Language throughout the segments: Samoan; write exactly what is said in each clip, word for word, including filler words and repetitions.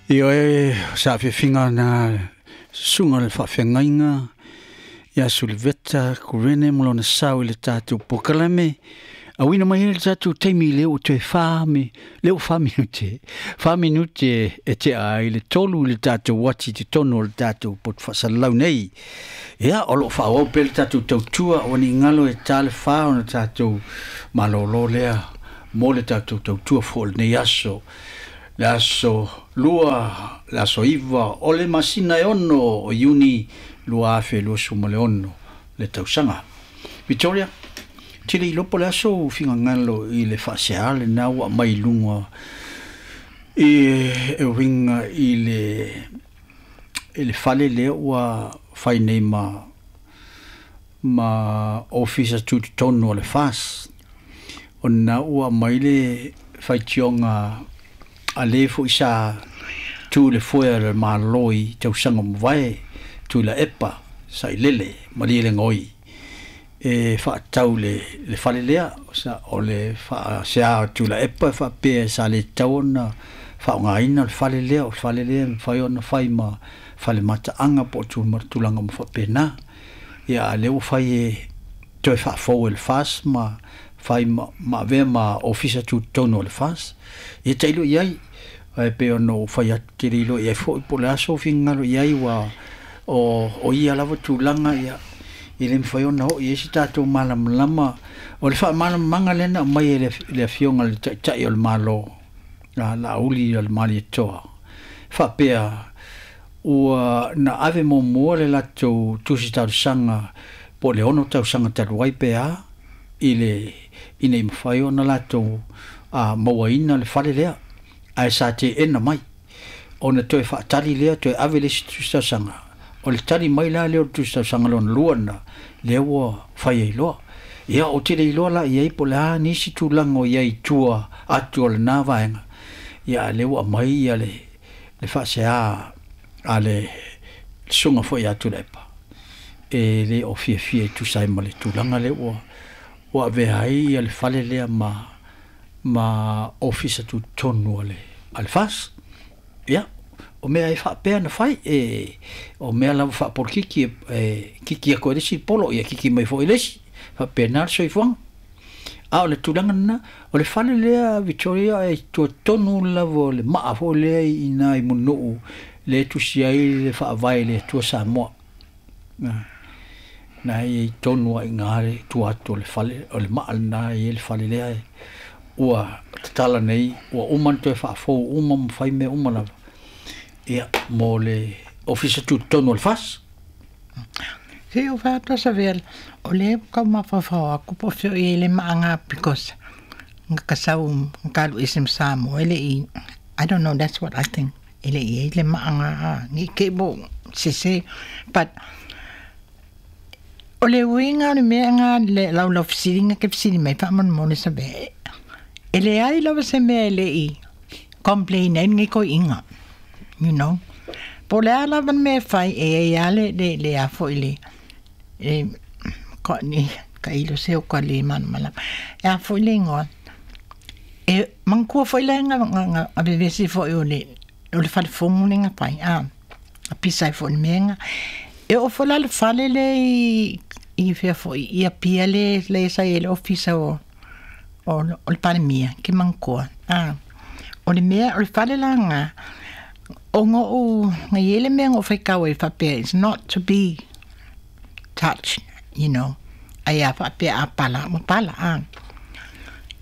Ioe sa fiafiga na susuga le faafeagaiga ia Suliveta Kurene ma lona sao i le tatou polokalame auina mai ai le tatou taimi lea ua toe fa me lea ua fa minute fa minute e tea ai le tolu i le tatou ati i totonu o le tatou poto faasalalau nei. Ia o loo faaauau pea le tatou tautua ua ni galo e ta le fa ona tatou malōlō lea mo le tatou tautua foi o lenei aso, le aso lua, le aso iva o le masina e ono o Iuni lua afe luasefulu ma le ono le tausaga. Victoria, tele iloa po le aso figagalo i le faasea lena ua aumai i luga i e uiga i le i le fale lea ua fai nei ma ma ofisa tutotonu o le F A S, ona ua aumai le faitioga a le foi sa tu le foe a le Malo i tausaga mavae Tuilaepa Sailele Malielegaoi e faatau le, le fale lea sa o le faasea o Tuilaepa e faapea sa le tatau ona faaaogaina le fale lea, o le fale lea e mafai ona fai ma fale mataaga po o tulaga uma faapena. Ia a lea ua fai e toe faafou e le F A S ma fai ma, ma avea ma ofisa tutotonu o le F A S. Ia tailo i ai, ae pei ona ou fai atu tele iloa i ai foi po o le aso finagalo i ai ua o, o ia lava tulaga ia e le mafai ona oo i ai se tatou malamalama. O le faamalamalamaga lea na aumai e le, le afioga i le Taitai o le Malo, a Laauli o le Malietoa, faapea ua na ave muamua le latou tusi talosaga po o le ono tausaga talu ai pe a i le ina ia mafai ona latou a mauaina le fale lea, ae sa teena mai ona toe faatali lea toe ave le isi tusi talosaga. O le tali mai la lea o le tusi talosaga lona lua lena lea ua fai ai loa. Ia ou te le iloa la i ai po o le a nisi tulaga o i ai i tua atu o lena vaega. Ia a lea ua aumai ia le, le faasea a le susuga foi ia Tuilaepa e le o fiafia e tusa ai ma le tulaga lea ua ua avea ai ia le fale lea ma ma ofisa tutotonu a le a le F A S. Ia o mea e faapea na fai e o mea lava faapolokiki e, e kiki atu e le isi polo ia kiki mai foi le isi faapena le soifuaga. A o le tulaga lena o le fale lea Victoria e tuatonu lava o le maa foi lea i ina i Mulinuu le tusi ai le faavae le Atua Samoa. Na, na e i tonu ai ngā le tua atu o le fale, o le maa lena i le fale lea e ua tatala nei, ua uma na toe faafou uma ma fai mea uma lava. Ia, mo le ofisa tutotonu o le F A S. Se o whātua sa vea, o le kau mawhawhau aku po whio i ele maanga because ngā kasau ngā kalu isim Samoa ele i, I don't know, that's what I think. Ele i ele maanga ngi ke bo sese, but o le uinga o le mea ngā le lau lau fisiri ngā ke fisiri mai whaamon mone sa vea. Ele ai lava se mea ele i complain ai ngi koi inga, you know. Po le ala van mea whai e e ale le le afo i le e ko ni ka ilo se o ka le mana mala. E afo i le ingoa. E mangkua fo i le nga nga nga a bebesi fo i o le o le fale fongu le nga pai a a pisa i fo le mea nga. E o fo la le fale le i i fea fo i a pia le le sa i le ofisa o o o le palemia ke mangkua. A o le mea o le fale la nga o ngo o nga iele mea ngo whaikau e whapea, it's not to be touched, you know. Ai a whapea a pala, mo pala, a.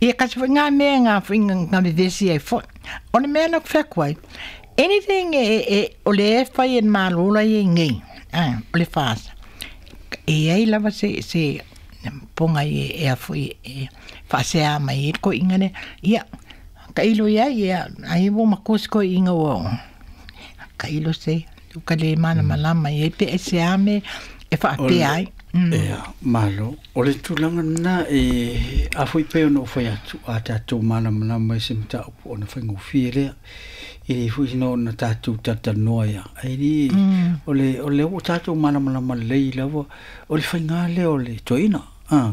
Ia kasi fo ngā mea ngā fo ngā ngā vevesi ai fo. O le mea na whakwai, anything e, e, o le e whai en mālola i e ngei, a, o le whaasa. E ai lava se, se ponga i e, e a fo i e, whaasea mai e ko ingane, ia, ka ilo ia, ia, ai wo makosi ko inga o, ka ilo se, ka le mana malama i e pe e se ame, e whaapea ai. Mm. Ea, malo. O le tulaga lena e a foi pe ona o fai atu a tatou malamalama i se mataupu ona faigofie lea. E le foi sina ona tatou talatalanoa ia. Ai li, o le, o le ua tatou malamalama lelei lava, o le faiga lea o le toeaina. Ah.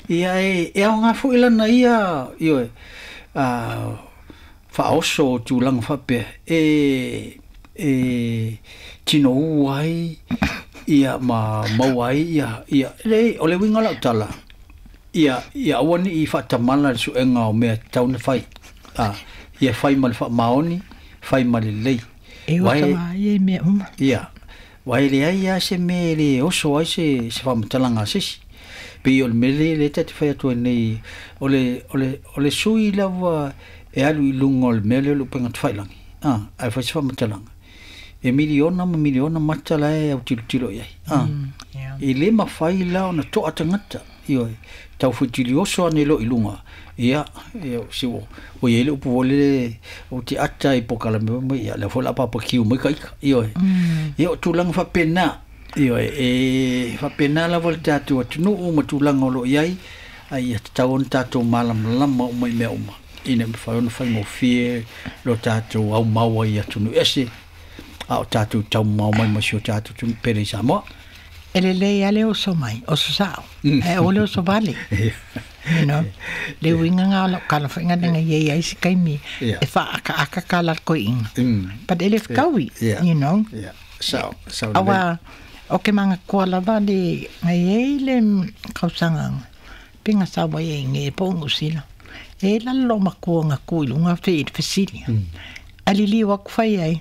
Ia e, e aoga foi lana ia, ioe, a, faaoso o tulaga faapea e e tinou ai ia ma maua ai ia ia le o le uiga lau tala ia ia aua ni'i faatamala le suega o mea tatau ona fai a ia fai ma le faamaoni fai ma lelei E oso ai e mea uma. Ia uae leai lava se mea e lē oso ai se se faamatalaga a sesi pei o le mea lea lea tate fai atu ai nei o le o le o le sui lava e alu i luga o le mea lea o le upega tafailagi a ae fai se faamatalaga e miliona ma miliona mata la e autilotilo i ai a e lē mafai la ona to'a tagata ioe tau fuitilioso ane lo'o i luga ia ia si ua ua iai le upu foi lele ou te ata i pokalame mai ia lea foi o le a papakiu mai ka ika ioe ia o tulaga faapena ioe e faapena lava le tatou atunuu ma tulaga o loo iai ai ia tatau ona tatou malamalama uma i mea uma ina ia mafai ona faigofie lo tatou aumau ai i atunuu ese a o tatou taumamao mai ma si o tatou atunuu pele i Samoa. E lelei lava le oso mai, oso sao, ae aua le oso vale. You know, le uiga nga o lau kalafaiga lea na iai ai se taimi e faaakaaka kala le koiiga. But e le fetaui, you know. Aua o ke magakoa lava le ngai ai le kausaga pe ga sau ai ai ge po o Niu Sila. E lalo lou makua ga ku i luga fe i le fesili. Ae liliu atu fai ai,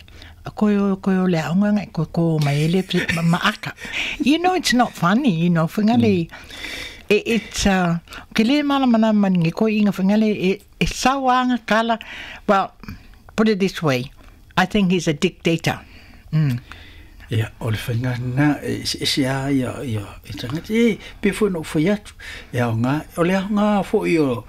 koe o koe o le aoga nga koe ko mai e le ma aka. You know, it's not funny, you know, faiga le it, it's uh, ke le malamalama ni ko inga faiga le e, e sauanga kala. Well, put it this way, I think he's a dictator. Mm. Ia, o le faiga lena, e eseese lava ia ia e tagata e pei foi ona ou fai atu, e aoga o le aoga foi o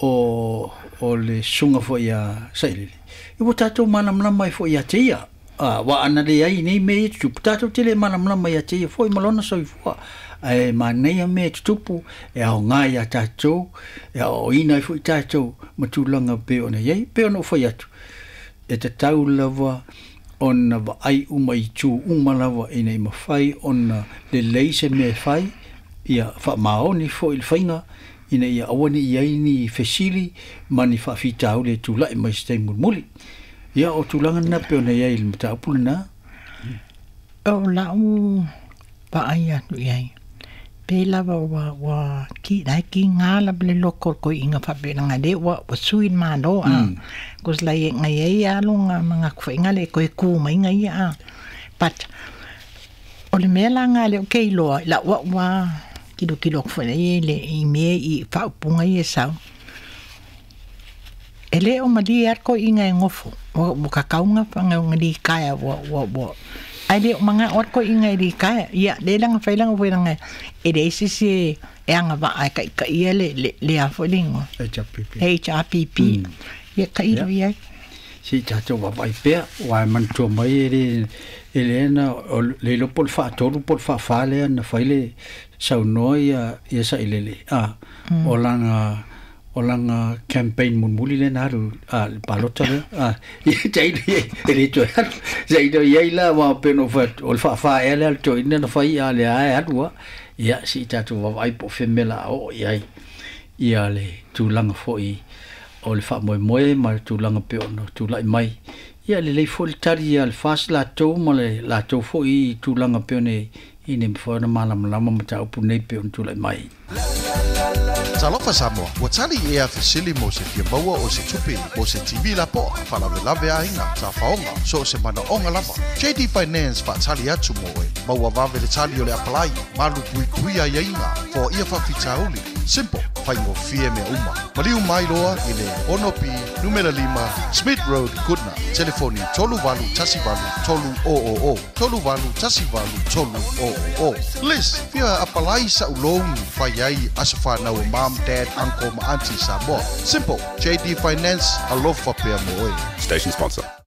o o le susuga foi ia Sailele, ua tatou malamalama ai foi ia te ia. A aua ana leai nei mea ia tutupu, tatou te le malamalama ia te ia foi ma lona soifua. Ae manaia mea e tutupu, e aoga iā tatou, e aoaoina ai foi tatou ma tulaga pei ona i ai. Pei ona ou fai atu, e tatau lava ona vaai uma i itu uma lava ina ia mafai ona lelei se mea e fai, ia faamaoni foi le faiga ina ia aua ne'i i ai ni fesili ma ni faafitauli e tula'i mai i se taimi mulimuli. Ia o tulaga lena pei ona i ai i le mataupu lena. O lau vaai atu i ai, pe lava ua ua ki lai ki ngā lava le loko o le koiiga faapena lea ua ua sui le Malo a. Cause lai e ngai ai alo nga ma gakufaʻiga le koe ku mai nga ia a. But o le mea la nga le o ke iloa i lau a'u a kilokilo atu foi nei le i mea i faaupuga ia e sau. E le o malie a le koiiga e gofo ua ua kakauga fagaoga likaea ua ua ua ae le o magao a le koiiga e likaea. Ia le laga fai laga foelaga e leai se isi e e agavaa e taʻitaʻia le le le a foi le igoa H R P P. H R P P. Ia tailo i ai. Se i tatou vaavaai pea, aua e manatua mai e le e le na o le iloa po o le faatolu po o le faafā lea na fai le saunoa ia ia Sailele a o lana o lana campaign mulimuli lea na alu a le palota lea a ia tailo i ai e le toe alu tailo i ai la aua pei ona ou fai atu o le faafā ea lea a le toeaina na fai a o lea lava e alu lava. Ia se i tatou vaavaai po o fea mea o le a oo i ai ia le tulaga foi o le faamoemoe ma le tulaga pei ona tula'i mai. Ia lelei foi le tali a le F A S latou ma le latou foi tulaga pei ona ina ia mafai ona malamalama mataupu nei pei ona tula'i mai. Talofa Samoa, ua tali ea fesili mo se fia maua o se tupe mo se T V lapoa, faalavelave aiga, tafaoga, so o se manaoga lava. J D Finance faatali atu mo oe. Maua vave le tali o le apalai, malu puipuia aiaiga, foaia faafitauli. Simple, faigofie mea uma. Maliu mai loa i le ono B numera lima Smith Road, Goodna. Telefoni tolu valu tasi valu tolu o o o. Tolu valu tasi valu tolu o o o. Liz, fia apalai sa'u loan fai ai aso fanau o mom, dad, uncle ma auntie Samoa. Simple, J D Finance, alofa pea mo oe. Station sponsor.